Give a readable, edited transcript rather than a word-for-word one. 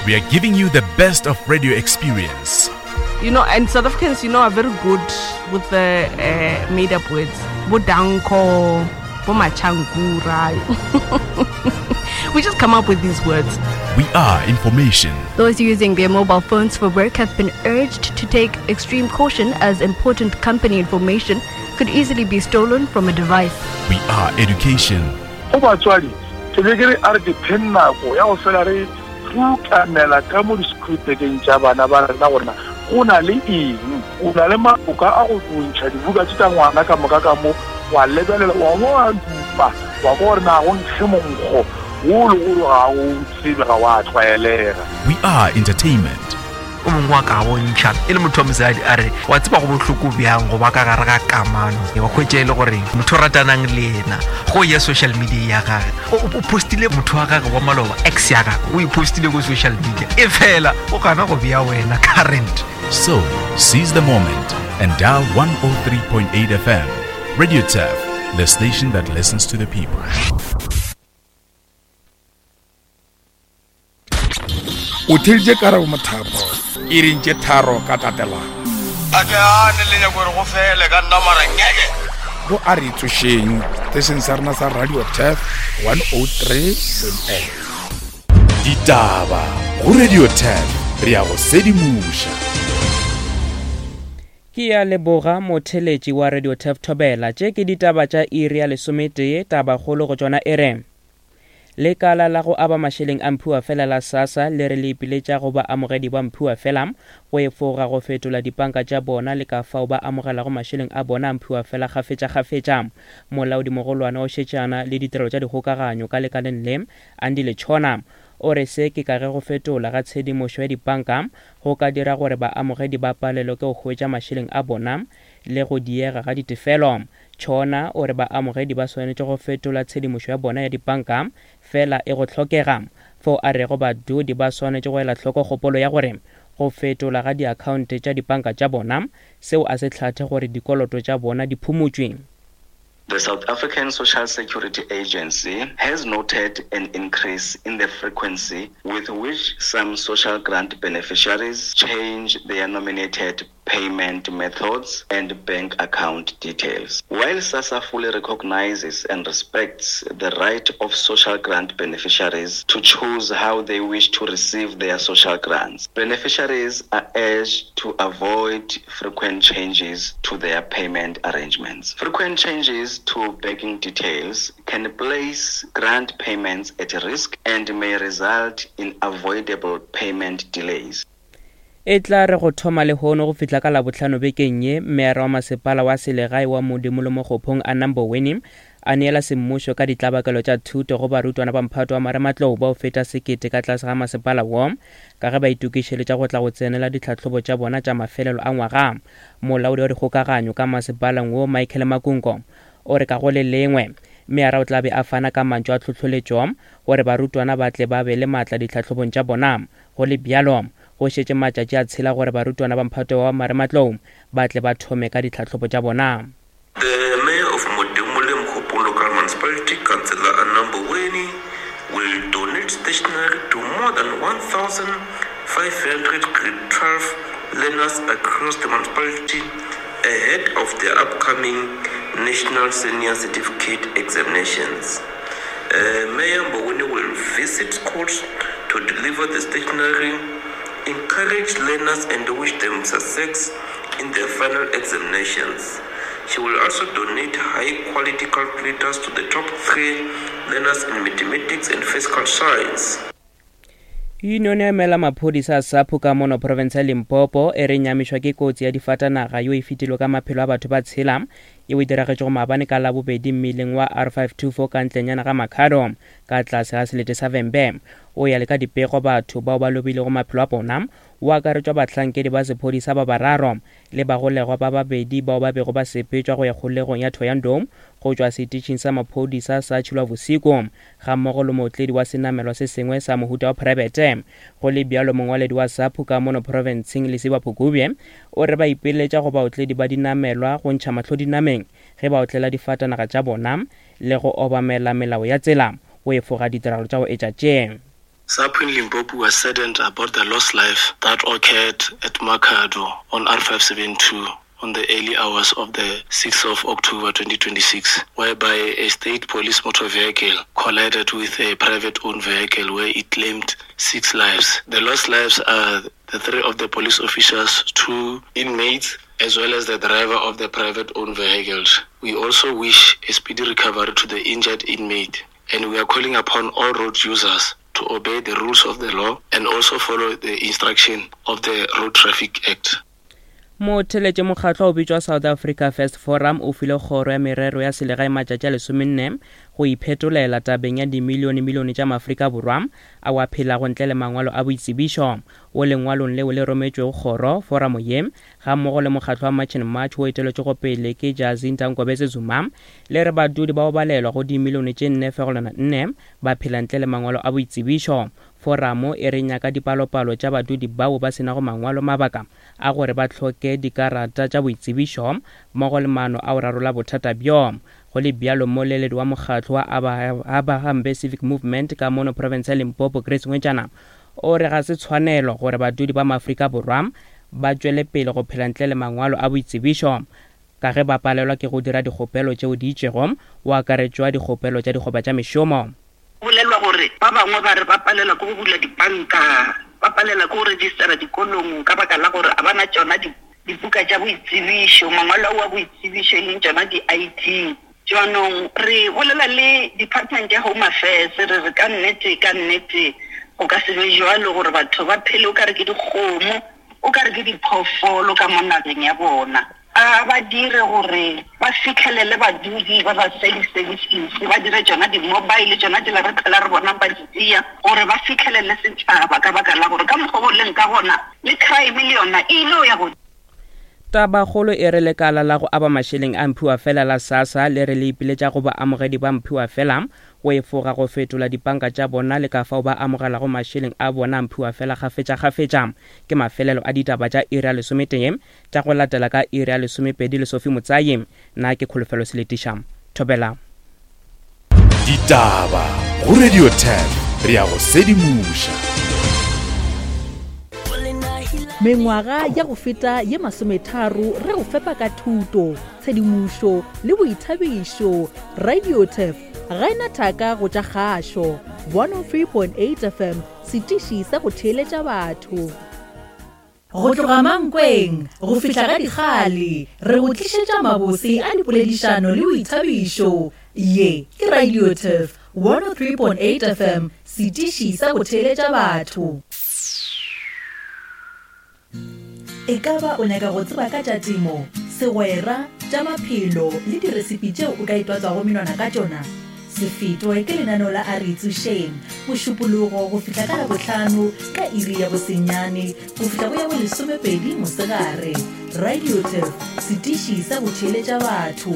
We are giving you the best of radio experience. You know, and South Africans, you know, are very good with the uh, made up words. Bodanko, Bomachangura. we just come up with these words. We are information. Those using their mobile phones for work have been urged to take extreme caution as important company information could easily be stolen from a device. We are education. Go batswadi, ke be ke re a re dipheng nako ya go fela re rutamela ka mo di-schoolbageng tša bana ba rena gore na go na le eng. O na le maloka a go ntšha dibuka tše tša ngwana ka moka ka mo, wa lebelela, wa bo wa dupa, wa kwa gore na go nkge monkgo wo le gore ga o tsebe, ga wa tlwaelega. We are entertainment. O mongwe wa ka bontšha e le motho wa mosadi a re wa tseba go bohloko bjang go ba ka gare ga kamano wa hwetša e le gore motho o ratanang le yena go ya social media ya gage o postile motho wa gage wa maloba ex ya gage o e postile ko social media e fela o gana go bea wena current. So, seize the moment and dial 103.8 FM. Radio Turf, the station that listens to the people. O theeditše Karabo Mothapo iring tše tharo ka tatelano. A ke gane le nyako gore go fele ka nna mara ngeke. Go a re tsošeng setešeng sa rena sa Radio Turf 103.8. Ditaba go Radio Turf re ya go sedimoša. Ke ya leboga motheletši wa Radio Turf Thobela. Tše ke ditaba tša iri ya lesometee, tabakgolo go tšona e re. Lekala la go aba mašeleng a mphiwafela la SASSA le re le ipiletša go baamogedi ba mphiwafela go efoga go fetola dipanka tša bona le ka fao ba amogelago mašeleng a bona a mphiwafela kgafetšakgafetša. Molaodimogolwane wa go šetšana le ditirelo tša dikgokaganyo ka lekaleng le, Andile Tshona, o re se ke ka ge go fetola ga tshedimošo ya dipanka go ka dira gore baamogedi ba palelwe ke go hwetša mašeleng a bona le go diega ga ditefelo. Tšhona o re baamogedi ba swanetše go fetola tshedimošo ya bona ya dipanka fela e go hlokega, fao a rego badudi ba swanetše go ela hloko kgopolo ya gore go fetola ga diakhaonte tša dipanka tša bona seo a se hlathe gore dikoloto tša bona di phumotšwe. The South African Social Security Agency has noted an increase in the frequency with which some social grant beneficiaries change their nominated payment methods and bank account details. While SASSA fully recognizes and respects the right of social grant beneficiaries to choose how they wish to receive their social grants, beneficiaries are urged to avoid frequent changes to their payment arrangements. Frequent changes to banking details can place grant payments at risk and may result in avoidable payment delays. E tla re go thoma lehono go fihla ka Labohlano bekeng ye, Meyara wa Masepala wa Selegae wa Modimo le Mokgophong Anna Mboweni a neela semmušo ka ditlabakelo tša thuto go barutwana ba mphato wa marematlou bao feta sekete ka tlase ga masepala wo ka ge ba itokišeletša go tla go tsenela ditlhahlobo tša bona tša mafelelo a ngwaga. Molaodi wa dikgokaganyo ka masepaleng wo Michael Makungo o re ka go le lengwe meyara o tla be a fana ka mantšu a tlhohloletšo gore barutwana ba tle ba be le maatla ditlhahlobong tša bona. Go le bjalo, go šetše matšatši a tshela gore barutwana ba mphato wa marematlou ba tle ba thome ka ditlhahlobo tša bona. The Mayor of Modimolle Mokgopong Local Municipality, Councillor Anna Mboweni, will donate stationery to more than 1,500 Grade 12 learners across the municipality ahead of the upcoming National Senior Certificate Examinations. Uh, Mayor Mboweni will visit schools to deliver the stationery, encourage learners and wish them success in their final examinations. She will also donate high-quality calculators to the top three learners in mathematics and physical science. Yunione ya emela maphodisa a SAPO ka mono profense ya Limpopo e re nyamišwa ke kotsi ya difatanaga yo e fetilwe ka maphelo a batho ba tshela yeo e diragetšego maabane ka Labobedi mmileng wa R524 ka ntlenyana ga Makhado ka tlase ga selete sa Vhembe. O ya le ka dipego batho bao ba lobilego maphelo a bona o akaretšwa bahlankedi ba sephodisa ba bararo le bagolegwa ba babedi bao ba bego ba sepetšwa go ya kgolegong ya Thohoyandou go tšwa setišing sa maphodisa sa Tshilwabosigo gammogo le mootledi wa senamelwa se sengwe sa mohuta wa phraebete. Go le bjalo, mongwaledi wa SAPU ka mono profenseng Lesiba Phukubye o re ba ipiletša go baotledi ba dinamelwa go ntšha mahlo dinameng ge ba otlela difatanaga tša bona le go obamela melao ya tsela go efoga ditiragalo tša go etša tše. SAPO in Limpopo was saddened about the lost life that occurred at Makhado on R572 on the early hours of the 6th of October 2026, whereby a state police motor vehicle collided with a private-owned vehicle where it claimed six lives. The lost lives are the three of the police officers, two inmates, as well as the driver of the private-owned vehicles. We also wish a speedy recovery to the injured inmate, and we are calling upon all road users to obey the rules of the law and also follow the instruction of the Road Traffic Act. Motheletše mokgatlo o bitšwa South Africa First Forum o file kgoro ya merero ya selegae matšatši a lesomenne go iphetolela tabeng ya dimilionemilione tša Maafrika Borwa ao a phelago ntle le mangwalo a boitsebišo. Wo lengwalong leo le rometšwego kgoro, foramo ye, gammogo le mokgatlo wa March and March wo eteletšwego pele ke Jacinta Nkobese Zuma, le re badudi ba go balelwa go dimilione tše 4.4 ba phela ntle le mangwalo a boitsebišo. Foramo e re nyaka dipalopalo tša badudi bao ba se nago mangwalo mabaka a gore ba hloke dikarata tša boitsebišo mmogo le maano a go rarolla bothata bjo. Go le bjalo, mmoleledi wa mokgatlo wa Abahambe Civic Movement ka mono profense ya Limpopo, Grace Ngwetšana, o re ga se tshwanelo gore badudi ba Maafrika Borwa ba tšwele pele go phela ntle le mangwalo a boitsebišo ka ge ba palelwa ke go dira dikgopelo tšeo di itšego, go akaretšwa dikgopelo tša dikgoba tša mešomo. Bolelwa gore ba bangwe ba re ba palelwa ke go bula dipanka, ba palelwa ke go registera dikolong ka baka la gore ga ba na tšona dibuka tša boitsebišo, mangwalo ao a boitsebišo e leng tšona di-ID. Jaanong re bolela le Department ya Home Affairs re re ka nnete, ka nnete go ka se be bjalo gore batho ba phele o ka re ke dikgomo, o ka re ke diphoofolo ka mo nageng ya bona. A ba dire gore ba fihlelele badudi ba ba fe di-services, ba dire tšona di-mobile, tšona tšela re phela re bonang ba di tšea, gore ba fihlelele setšhaba, ka baka la gore ka mokgwa o leng ka gona le crime le yona e ile ya godimo. Tabakgolo e re lekala la go aba mašeleng a mphiwafela la SASSA le re le ipiletša go baamogedi ba mphiwafela go efoga go fetola dipanka tša bona le ka fao ba amogelago mašeleng a bona a mphiwafela kgafetšakgafetša. Ke mafelelo a ditaba tša iri ya lesometee Tša go latela ka iri ya lesomepedi le Sophie Motsayi. Nna ke Kholofelo Seletiša. Thobela. Ditaba go Radio 10 re ya go sedimoša. Mengwaga ya go feta ye masometharo re go fepa ka thuto, tshedimošo le boithabišo. Radio Turf ga e na thaka go tša kgašo. 103.8 FM, setiši sa go theeletša batho. Go tloga Mankweng go fihla ga Dikgale, re go tlišetša mabose a dipoledišano le boithabišo. Ye ke Radio Turf 103.8 FM, setiši sa go theeletša batho. Ekaba o nyaka go tseba ka tša temo, segwera, tša maphelo le diresipi tšeo o ka itwatswago menwana ka tšona? Se fetwe ke lenaneo la A Re Tsošeng, Mošupologo go fihla ka Labohlano ka iri ya bosenyane go fihla go ya bolesomepedi mosegare. Radio Turf, setiši sa go theeletša batho.